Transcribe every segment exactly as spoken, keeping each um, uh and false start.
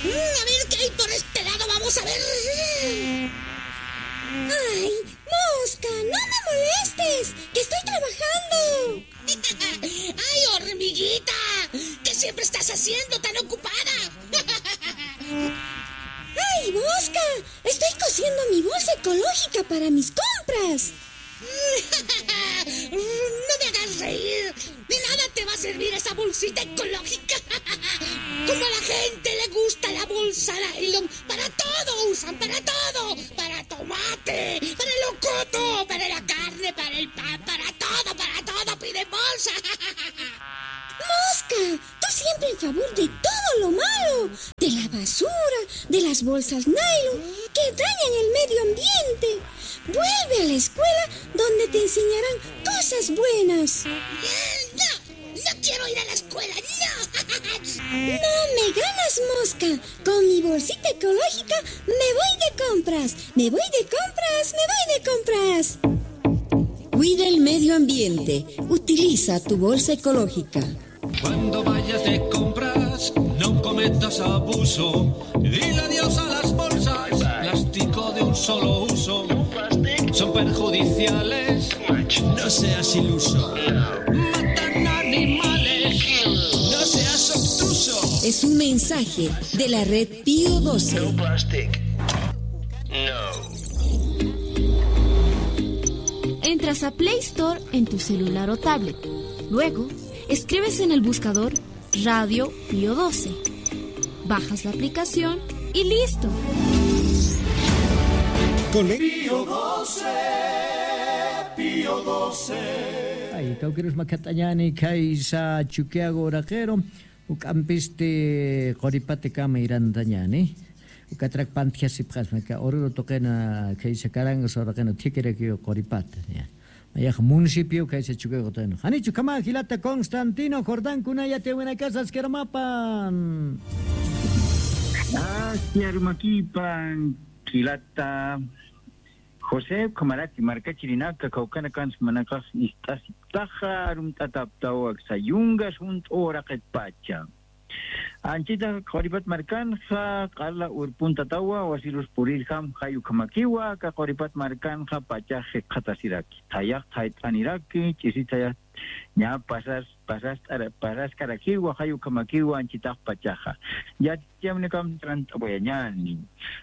Mm, a ver qué hay por este lado, vamos a ver. Ay, Mosca, no me molestes, que estoy trabajando. Ay, hormiguita, ¿qué siempre estás haciendo tan ocupada? Ay, Mosca, estoy cosiendo mi bolsa ecológica para mis compras. No me hagas reír. De nada te va a servir esa bolsita ecológica. Como a la gente le gusta la bolsa nylon, para todo usan, para todo. Para tomate, para el locoto, para la carne, para el pan, para todo, para todo piden bolsa. Mosca, tú siempre en favor de todo lo malo, de la basura, de las bolsas nylon que dañan el medio ambiente. Vuelve a la escuela donde te enseñarán cosas buenas. No, no quiero ir a la escuela, no. No me ganas, Mosca. Con mi bolsita ecológica me voy de compras. Me voy de compras, me voy de compras. Cuida el medio ambiente. Utiliza tu bolsa ecológica. Cuando vayas de compras, no cometas abuso. Dile adiós a las bolsas, plástico de un solo uso. Son perjudiciales. No seas iluso. Matan animales. No seas obtuso. Es un mensaje de la red Pío doce. No plastic. No. Entras a Play Store en tu celular o tablet. Luego, escribes en el buscador Radio Pío doce. Bajas la aplicación y listo. Con Pío doce, Pío doce. Ay, kawkirus makatañani, kaysa Chukiyago Raquero, uk'ampisti Quripatakama irantañani. Ukatrak pantjasipxasma, ka Oruro tuqina, kaysa Carangas uraqina thikirakiw Quripata, ya. Mayax municipio kaysa Chukiyago tuqina. Janichu kama jilata Constantino Jordán, kuna yatiyawinakasa askiramapan. Askiramakipan, jilata José, ukhamaraki markachirinaka, kawkanakansa manakax ist'asiptaxa, arumt'ataptaw aksa yungas junt'u uraqitpacha. Anchita Quripat markanxa, q'ala urpuntatawa, wasirus purirjam, jay ukhamakiwa, aka Quripat markanxa, pachax jikxatasiraki. Thayax thayt'aniraki, ch'isi thayax ña pasas, pasas, pasaskarakiwa, jay ukhamakiwa, anchitax pachaxa. Yatiyawinakam trant'awayañani.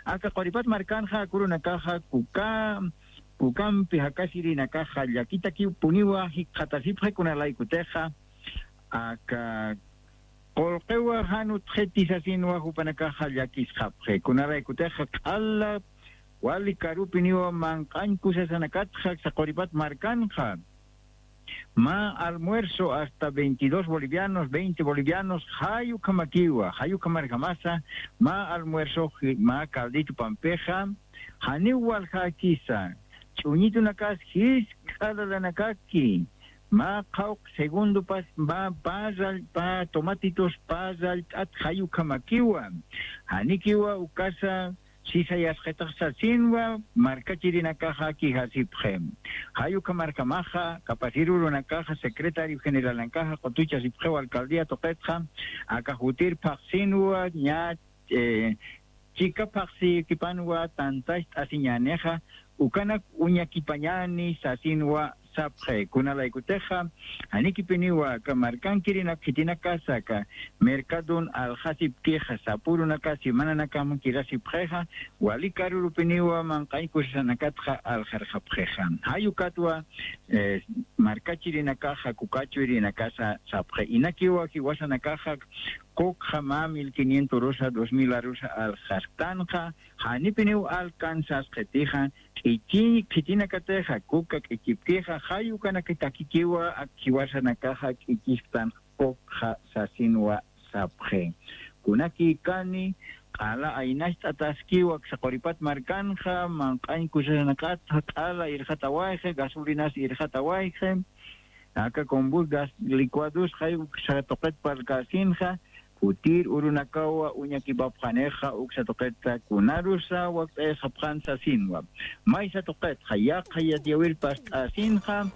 Aka Quripat markanxa, kurunakaxa, kuka, kukampi jakasirinakaxa, llakitakiw puniwa, jikxatasipxi kunalaykutixa, aka Qullqiwa jan utjiti sasinwa jupanakaxa llakisxapxi. Kunaraykutixa q'ala wali karupiniwa manq'añ kusasanakatxa aksa Quripat markanxa. Mä almuerzo hasta veintidós bolivianos, veinte bolivianos, jay ukhamakiwa, jay ukhamarjamasa, mä almuerzo, mä caldito pampixa, janiw waljakisa, ch'uñitunakas jisk'a lalanakaki, mä qhawq segundopas, mä pä rall-, pä tomatitos pä rallt'at jay ukhamakiwa. Janikiwa ukasa sisayasqitax sasinwa, markachirinakaxa kijasipxi. Jay ukhamarjamaxa, kapasir urunakaxa, secretario generalnakaxa, qutuchasipxiwa alcaldía tuqitxa, aka jutir phaxsinwa, ña, eh, chika phaxsikipanwa tantacht'asiñänixa, ukanak uñakipañäni sasinwa sapxi. Kunalaykutixa, janikipiniwa aka markankirinak khitinakasa aka mercadon aljasipkixa, sapürunaka semananakam kirasipxixa, wali karurupiniwa manq'añ kusasanakatxa aljarxapxixa. Jay ukatwa, eh, markachirinakaxa, kukachurinakasa sapxi. Inakiwa jiwasanakaxa, kukxa mä mil quinientos arusa, dos mil arusa aljasktanxa, janipiniw alcanzasqitixa, k'ichi khitinakatixa, kuka k'ichipkixa, jay ukanakatakikiwa, ak jiwasanakaxa k'ichisktan kukxa sasinwa sapxi. Kunakikani, q'ala aynacht'ataskiwa aksa Quripat markanxa, manq'añ kusasanakatxa, q'ala irxatawayxi, gasolinas irxatawayxi, aka combustible, gas licuados, jay uksa tuqit parlkäsinxa, jutir urunakawa uñakipapxanixa, uksa tuqitxa kunarusa wakt'ayasxapxan sasinwa. Maysa tuqitxa, yaqha yatiyäwir past'asinxa,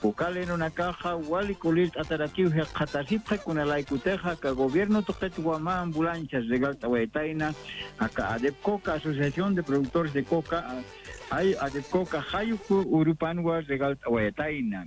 Coca lerunakaxa wali kulirt'atarakiw jikxatasipxi, kunalaykutixa aka gobierno tuqit wama ambulancias regalt'awayatayna, aka ADEPCOCA, Asociación de Productores de Coca, jay ADEPCOCA jay uk urupanwa regalt'awayatayna.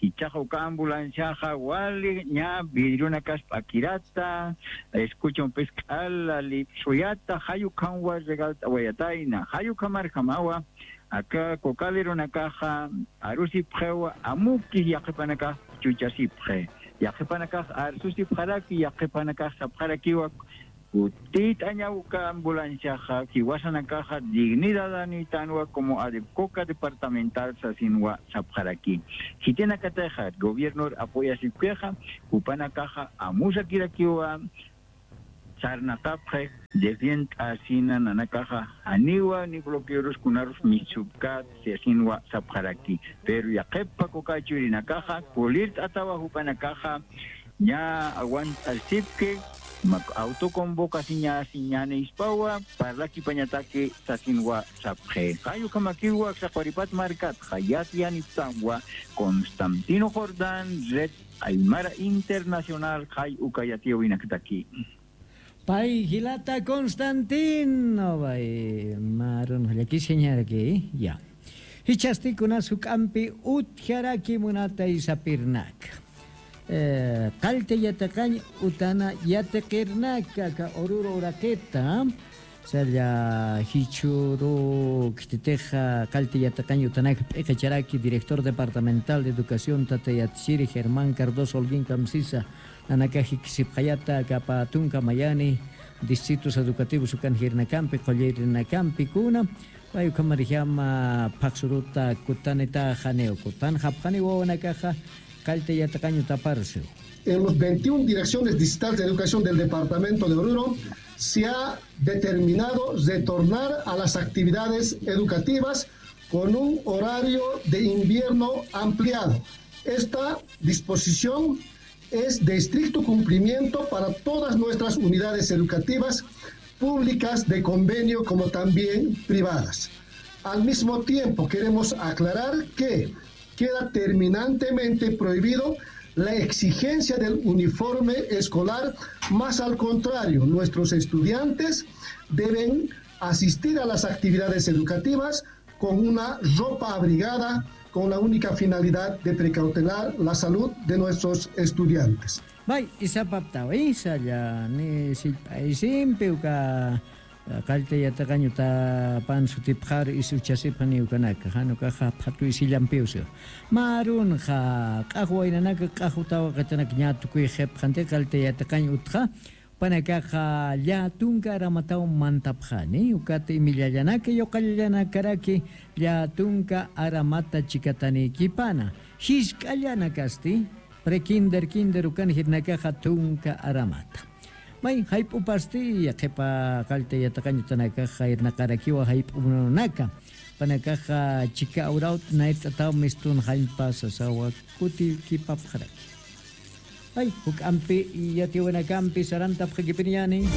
Jichhax uka ambulanciaxa wali ña vidrionakas p'akirata, escuchompis k'ala lipsuyata, jay ukhamwa regalt'awayatayna. Jay ukhamarjamawa aka Coca lerunakaxa arusipxiwa, amukis yaqhipanakax chuchasipxi. Yaqhipanakax arsusipxaraki, yaqhipanakax sapxarakiwa, kutit'añaw uka ambulanciaxa, jiwasanakaxa dignidadanïtanwa como ADEPCOCA departamental sasinwa sapxaraki. Khitinakatixa gobiernor apoyasipkixa, jupanakaxa amusakirakiwa, sarnaqapxi, defient'asina nanakaxa, janiwa ni bloqueorus kunarus misupkät sasinwa sapxaraki. Pero yaqhipa Coca churinakaxa kulirt'atawa, jupanakaxa ña aguantasipki, mak autoconvocasiñasiñänispawa parlakipañataki sasinwa sapxi. Jay ukhamakiwa aksa Quripat markatxa yatiyanipxtanwa Constantino Jordán, Red Aymara Internacional, jay uka yatiyäwinakataki. Pay jilata Constantino, pay mä arunxa llakisiñaraki, ya. Jichhasti kunas juk'ampi utjaraki munata sapirnaka. Eh, qallta yatiqañ utana yatiqirnaka aka Oruro uraqita, salla jichhüru khititixa qallta yatiqañ utanaka p'iqicharaki director departamental de educación tata yatichiri Germán Cardoso Holguín Kamsisa, nanakax jikisipxayata aka pä tunka mayani distritos educativos ukan jirnakampi, qullirinakampi kuna, pay ukhamarjama phaxsuruta kutanitaxa janiw, kutanxapxani wawanakaxa qallta yatiqañ utaparsiw. En los veintiún direcciones distritales de educación del departamento de Oruro se ha determinado retornar a las actividades educativas con un horario de invierno ampliado. Esta disposición es de estricto cumplimiento para todas nuestras unidades educativas públicas de convenio como también privadas. Al mismo tiempo, queremos aclarar que queda terminantemente prohibido la exigencia del uniforme escolar, más al contrario, nuestros estudiantes deben asistir a las actividades educativas con una ropa abrigada, con la única finalidad de precautelar la salud de nuestros estudiantes. May, isapaptaw, isalla, ni sillp'aysimpi uka, eh, qallta yatiqañ utapan sutipxar is uchasipxani ukanaka, jan ukaxa phatu isillampiw siw. Mä arunxa, q'ax waynanaka, q'ax uta waqitanaka ña tukuyxipxanti qallta yatiqañ utxa, jupanakaxa llätunka aramataw mantapxani, ukat imillallanaka, yuqallallanakaraki llätunka aramata chikatanïkipana. Jisk'allanakasti, prekinder, kinder ukan jirnakaxa tunka aramata. May, jayp'upasti, yaqhipa qallta yatiqañ utanakaxa irnaqarakiwa jayp'u munanaka. Jupanakaxa chika awraw nayrt'ataw mistun jallpa sasawa kutiykipapxaraki. Ay, juk'ampi yatiwinakampi sarantapxakipiniyani.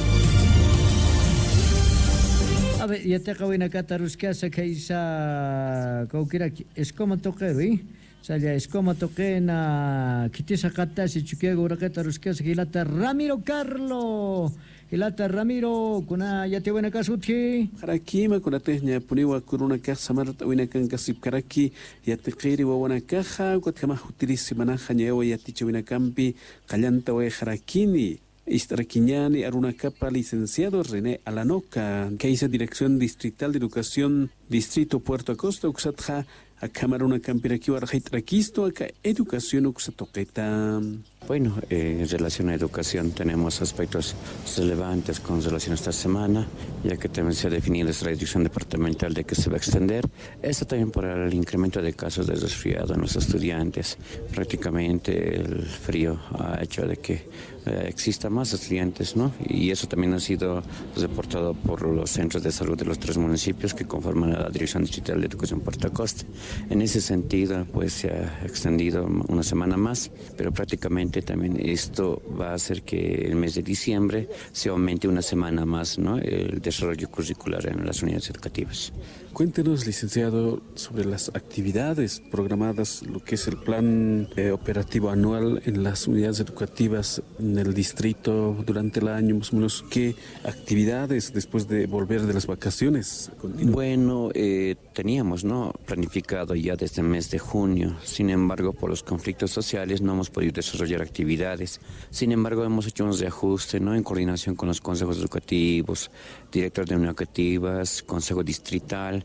A ver, yatiqawinakata aruskasa khaysa kawkiraki Escoma tuqiru, ¿eh? Salla Escoma tuqina khitisaqatasi Chukiyawu uraqita aruskasa jilata Ramiro Carlo. Jilata Ramiro, kuna yatiwinakas utji. Jarakima, kunatix ñapuniwa kurunakax samart'awinakankasipkaraki, yatiqiri wawanakaxa, ukatjamax utiri semanaxa ñayawa yatichawinakampi qallantawayxarakini. Ist'arakiñani arunakapa licenciado René Alanoca, khaysa Dirección Distrital de Educación, Distrito Puerto Acosta, uksatxa akham arunakampirakiw arxayt'arakistu aka educación uksa tuqita. Bueno, eh, en relación a educación tenemos aspectos relevantes con relación a esta semana, ya que también se ha definido esta dirección departamental de que se va a extender. Esto también por el incremento de casos de resfriado en los estudiantes. Prácticamente el frío ha hecho de que, eh, exista más estudiantes, ¿no? Y eso también ha sido reportado por los centros de salud de los tres municipios que conforman a la Dirección Distrital de Educación Puerto Acosta. En ese sentido, pues, se ha extendido una semana más, pero prácticamente También esto va a hacer que el mes de diciembre se aumente una semana más, ¿no? El desarrollo curricular en las unidades educativas. Cuéntenos, licenciado, sobre las actividades programadas, lo que es el plan, eh, operativo anual en las unidades educativas en el distrito durante el año, más o menos, ¿qué actividades después de volver de las vacaciones continúan? Bueno, eh, teníamos, ¿no?, planificado ya desde el mes de junio. Sin embargo, por los conflictos sociales no hemos podido desarrollar actividades. Sin embargo, hemos hecho unos reajustes, ¿no?, en coordinación con los consejos educativos, director de unidades educativas, consejo distrital,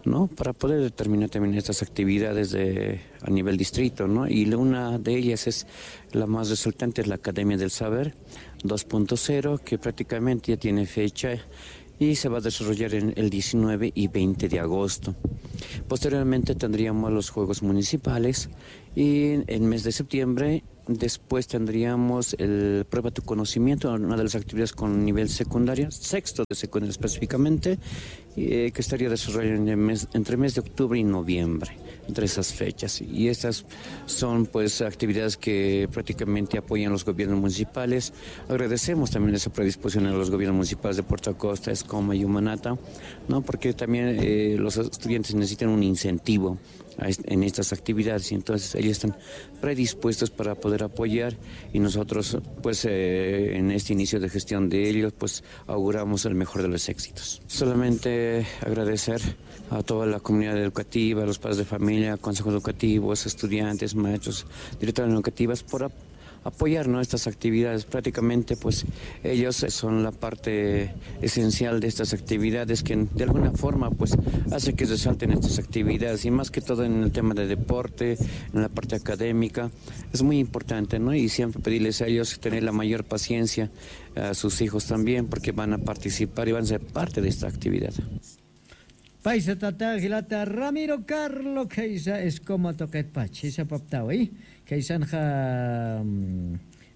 ¿no?, para poder determinar también estas actividades de, a nivel distrito, ¿no? Y la, una de ellas es la más resultante, es la Academia del Saber dos punto cero, que prácticamente ya tiene fecha y se va a desarrollar en el diecinueve y veinte de agosto. Posteriormente tendríamos los Juegos Municipales y en el mes de septiembre después tendríamos el Prueba tu conocimiento, una de las actividades con nivel secundario, sexto de secundaria específicamente, eh, que estaría desarrollando en el mes, entre el mes de octubre y noviembre, entre esas fechas. Y estas son, pues, actividades que prácticamente apoyan los gobiernos municipales. Agradecemos también esa predisposición a los gobiernos municipales de Puerto Acosta, Escoma y Humanata, ¿no? Porque también, eh, los estudiantes necesitan un incentivo a est-, en estas actividades, y entonces ellos están predispuestos para poder apoyar, y nosotros, pues, eh, en este inicio de gestión de ellos, pues, auguramos el mejor de los éxitos. Solamente agradecer a toda la comunidad educativa, a los padres de familia, consejos educativos, estudiantes, maestros, directoras educativas, por ap-, apoyar, ¿no?, estas actividades. Prácticamente, pues, ellos son la parte esencial de estas actividades que de alguna forma, pues, hace que resalten estas actividades, y más que todo en el tema de deporte, en la parte académica. Es muy importante, ¿no? Y siempre pedirles a ellos tener la mayor paciencia, a sus hijos también, porque van a participar y van a ser parte de esta actividad. Paysa tata jilata Ramiro Carlo, khaysa Escoma tuqitpach, jisa paptawi, khaysanxa, mm,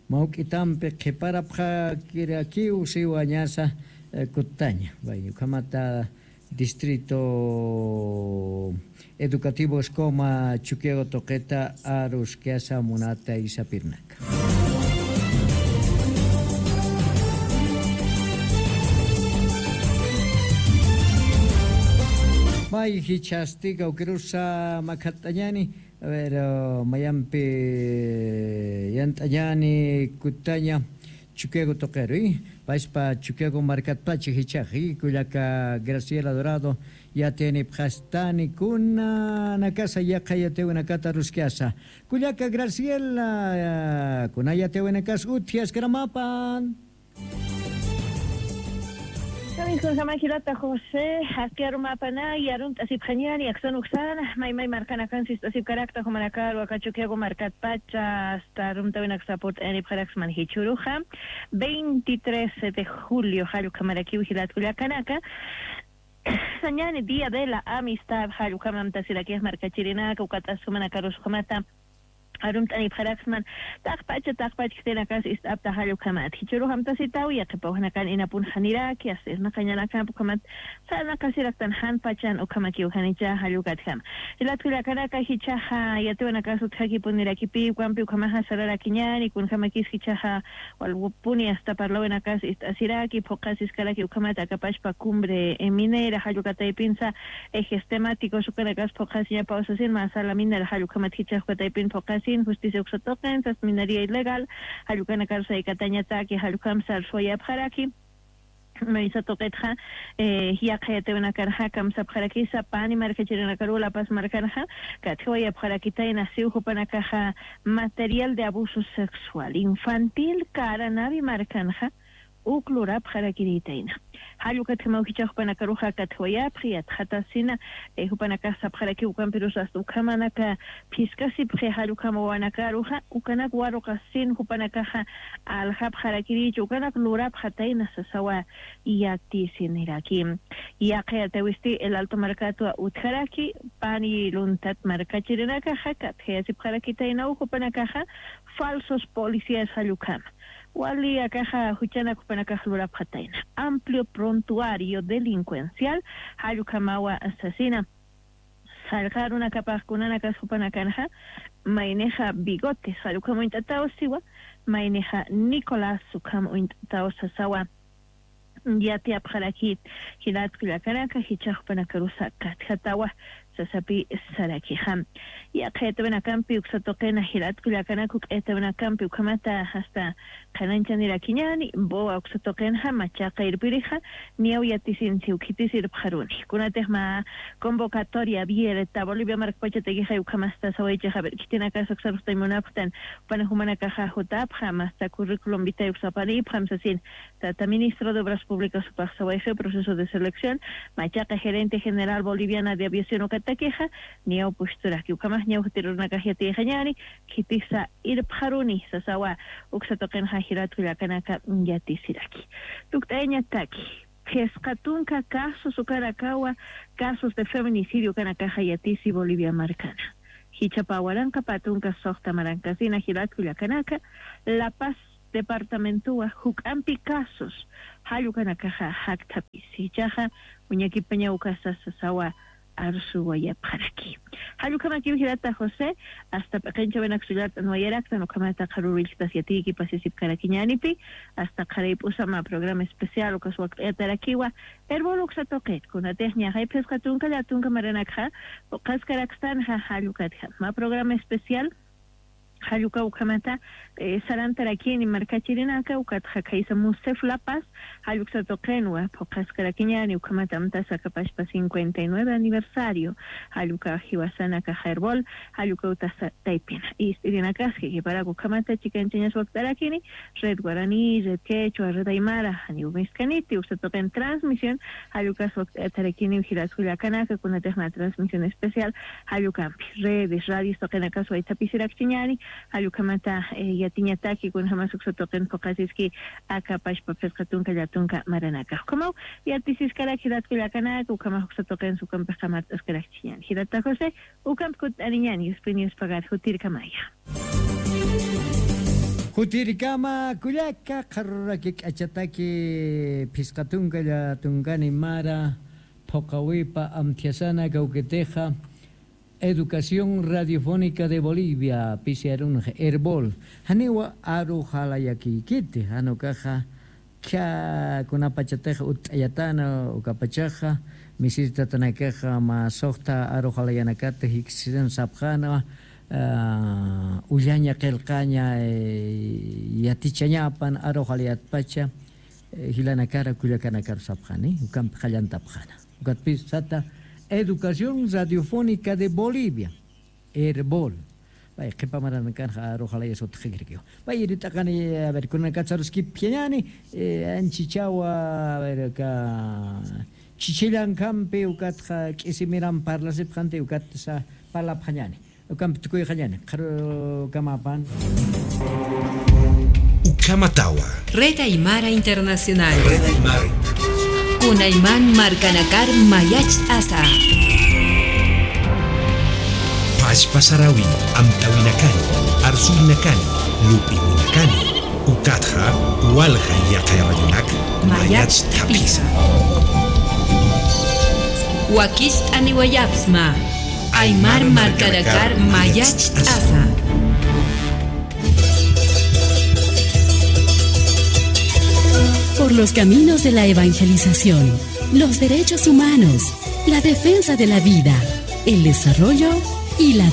mawk'itampi qhiparapxakirakiw siwañasa, eh, kuttaña. Bueno, ukhamata distrito educativo Escoma Chukiyawu tuqita aruskasa munata isapirnaka. May jichhasti kawkirusa makhat'añani, a ver, eh, mayampi yant'añani kuttaña Chukiyawu tuqiru, paspa Chukiyawu markatpacha jichhax, kullaka Graciela Dorado, yatiyanipxastani kunanakasa yaqha yatiyawinakata aruskasa. Kullaka Graciela, kuna yatiyawinakas utji askaramäpan. Kamiskunjama jilata José, aski arumäpana, arumt'asipxañäni aksan uksan, may may markanakan sist'asipkarakta jumanakaru, aka Chukiyawu markatpacha, hasta arumtäwinaksa purt'ayanipxaraksman jichhüruxa, veintitrés de julio, jall ukhamarakiw jilat kullakanaka, sañäni Día de la Amistad, jall ukham amtasirakixa markachirinaka, ukat'as jumanakarus ukhamata arumt'anipxaraksman, taqpacha, taqpach khitinakas ist'apta jall ukhamat. Jichhürux amtasitaw, yaqhipaw janakan inapunxaniraki, hasta irnaqañanakamp ukhamat, sarnaqasiraktan jan pachan ukhamakiw janicha jall ukatjama. Jilat kullakanaka jichhaxa yatiyawinakas utjakipunirakipi, ukampi ukhamaxa sararakiñäni, kunjamakis jichhaxa walpuni hasta parlawinakas ist'asiraki, phuqhasiskaraki ukhamat aka pachpa cumbre, eh, minera, jall uka taypinsa, ejes temáticos, ukanakas phuqhasiñapaw sasin, mä sala minera, jall ukhamat jichhax uka taypin phuqhasin, justicia uksa tuqin, sas minería ilegal, jall ukanakar saykatañataki, jall ukham sarsuwayapxaraki. Maysa tuqitxa, eh, yaqha yatiyawinakarxa kamsapxarakisa, pani markachirinakaru, La Paz markanxa, katjiwayapxarakitayna, siw jupanakaxa material de abuso sexual infantil, Caranavi markanxa, uk lurapxarakirïtayna. Jall ukatjamaw jichhax jupanakaruxa katjiwayapxi, yatxatasina, eh, jupanakax sapxarakiw ukampirus hasta ukhamanaka phiskasipxi, jall ukham wawanakaruxa, ukanak waruqasin jupanakaxa aljapxarakirichi, ukanak lurapxatayna sasawa yatisiniraki. Yaqha yatiyawisti El Alto markatwa utjaraki, pani luntat markachirinakaxa, katjayasipxarakitaynaw jupanakaxa, falsos policías jall ukhama. Wali akaxa juchanak jupanakax lurapxatayna. Amplio prontuario delincuencial, jall ukhamawa sasina. Qallqarunakapax kunanakas jupanakanxa, maynixa Bigotes, jall ukham uñt'ataw siwa, maynixa Nicolás ukham uñt'ataw sasawa. Yatiyapxarakit, jilat kullakanaka, jichhax jupanakarusa katjatawa, sasapi sarakixa. Yaqha yatawinakampi uksa tuqina jilat kullakanaka, juk'ayatawinakampi ukhamata hasta qhananchanirakiñani, boa uksa tuqinxa, machaqa irpirixa, niyaw yatisinsiw khitis irpxaruni. Kunatix mä convocatoria abierta, Bolivia markpachatakixa ukhamasta sawaychaxa, a ver, khitinakasa uksaruxtañ munapxtan, jupan jumanakaxa jutapxa, masta curriculum vitae uksapanipxam sasin, tata ministro de Obras Públicas jupax sawayxi proceso de selección, machaqa gerente general boliviana de aviación ukatakixa, niyaw pusturaki, ukhamax niyaw jutirunakax yatiyxañani, khitisa irpxaruni sasawa, uksa tuqinxa jilat kullakanaka yatisiraki. Tukt'ayañataki, phisqa tunka casos ukanakawa, casos de feminicidio ukanakaxa yatisi Bolivia markana. Jichhapa waranqa pä tunka suxta marankasina jilat kullakanaka, La Paz departamentowa juk'ampi casos, jall ukanakaxa jakthapisi. Jichhaxa uñakipañaw ukasa sasawa arsuwayapxaraki. Jall ukhamakiw jilata José, hasta p'iqinchäwinak sullart'anwayaraktan, ukhamata qharürillktas yatiyki pasisipkarakiñänipi, hasta qharip'usa mä programa especial ukas wakt'ayatarakiwa, Erbol uksa tuqit, kunatix ñaxay phisqa tunka llätunka maranakxa, phuqhaskarakstan, ja, jall ukatxa. Mä programa especial, jall uka ukhamata, eh, sarantarakini markachirinaka, ukatxa khaysa MUSEF La Paz, jall uksa tuqinwa, phuqhaskarakiñani, ukhamata amtasa aka pachpa cincuenta y nueve aniversario, jall uka jiwasanaka Erbol, jall uka utasa taypina. Ist'irinakaski, qhiparak ukhamata chikanchañas wakt'arakini, Red Guaraní, Red Quechua, Red Aymara, janiw miskaniti, uksa tuqin transmisión, jall ukas wakt'ayatarakiniw jilat kullakanaka, kunatix mä transmisión especial, jall ukampi, redes, radios tuqinakas waythapisirakchiñani, jall ukhamata, eh, yatiñataki, kunjamas uksa tuqin phuqhasiski, aka pachpa phisqa tunka llätunka maranaka. Ukhamaw, yatisiskarak jilat kullakanaka, ukhamax uksa tuqin sukampix qamart'askarakchiñani. Jilata José, ukampi kutt'aniñani, yuspini yuspagar, jutirkamaya. Jutirkama kullaka, qharuraki k'achataki phisqa tunka llätunkani mara, phuqhawipa amthiyasana kawkitixa, Educación Radiofónica de Bolivia, pisi arunxa, Erbol. Janiwa aruxalayakiykiti, jan ukaxa, khä kunapachatix utt'ayatana, ukapachaxa, misisitatanakixa, mä suxta aruxalayanakata jiksisan sapxäna, ah, ullaña qillqaña, eh, yatichañapan aruxalayatpacha, eh, jilanakar kullakanakar sapxani, ukampi qallantapxäna. Ukatpis sata Educación Radiofónica de Bolivia, Erbol. Pay, qhipa maranakanxa aruxalayas utjkirakiwa. Pay, irit'aqani, a ver, kunanakatsa aruskipkhiñäni, eh, anchichawa, a ver, aka chichillankampi, ukatxa k'isimiran parlasipxanti, ukatsa parlapxañäni. Ukampi tukuyxañäni, qharukamapan. Ukhamatawa. Red Aymara Internacional. Red Aymara Internacional. Kunayman markanakar mayacht'asa. Pachpa sarawin, amtawinakani, arsurinakani, lup'iwinakani, ukatxa walja yaqha radionak mayacht'apisa. Wakicht'aniwayapxsma. Aymar markanakar mayacht'asa. Por los caminos de la evangelización, los derechos humanos, la defensa de la vida, el desarrollo y la